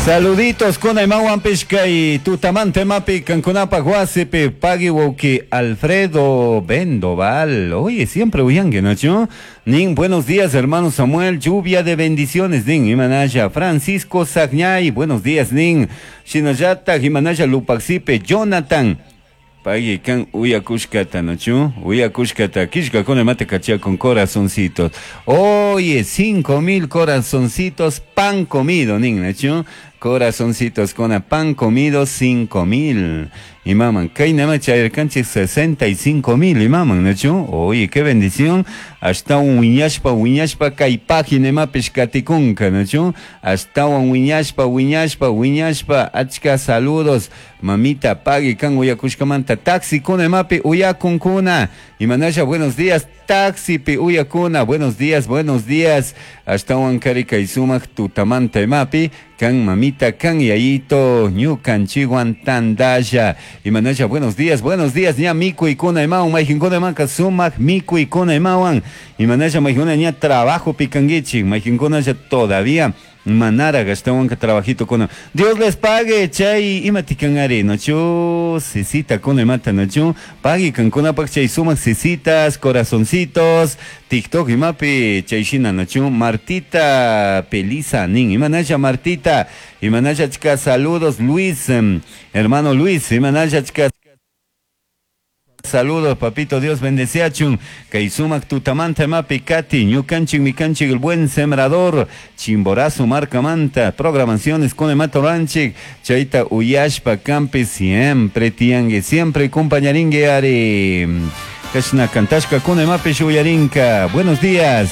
Saluditos kuna imawanpish kay tutamanta imapi kankunapaj wasipi pagui wawki Alfredo Bendoval. Oye, siempre uyanki, ¿no? Nin, buenos días, hermano Samuel, lluvia de bendiciones, nin, imanalla, Francisco Sagñay, buenos días, nin, Shinallata, imanalla, Lupaxipe, Jonathan, Pagui kan uyakushkata, ¿no? Uyakushkata, kishkakuna imata kachia con corazoncitos. Oye, 5000 corazoncitos, pan comido, nin, ¿no? Corazoncitos con pan comido, 5000. Imaman, kay nama chayarkanchik 65,000, imaman, ¿no? Oye, qué bendición. Hasta un wiñashpa, wiñashpa, kay página imapish katikunka, ¿no? Hasta un wiñashpa, wiñashpa, wiñashpa, achka saludos. Mamita, pagui kan uyakushkamanta, taxi kuna imapi uyakunkuna. Imanasha, buenos días, taxi pi uyakuna, buenos días, buenos días. Hasta un kari kay sumak tutamanta imapi, kan mamita, kan yayito, ñukanchikwan tandalla. Imanasha, buenos días, ña mikuykuna imawan, mayqinkuna imanka sumak mikuykuna imawan. Imanasha, mayqinkuna ña trabajo pikankichik, mayqinkuna ya todavía manara ashtawanka trabajito kuna. Dios les pague, chay imatikan ari, nochu, sisita kuna imata, nochu, pagui kankunapak chay sumak sisitas, corazoncitos, TikTok imapi, chay shina, nochu, Martita Pelisa, nin, imanasha Martita, imanasha chika saludos, Luis, hermano Luis, imanasha chika saludos, papito, Dios bendeciachun. Kay sumak tutamanta imapi kati, ñukanchik mikanchik el buen sembrador, Chimborazo markamanta, programaciones con emato ranchik, chayta uyashpa kampi siempre tiangue, siempre compañaringue ari. Kashna kantashka kuna imapi shuyarinka. Buenos días.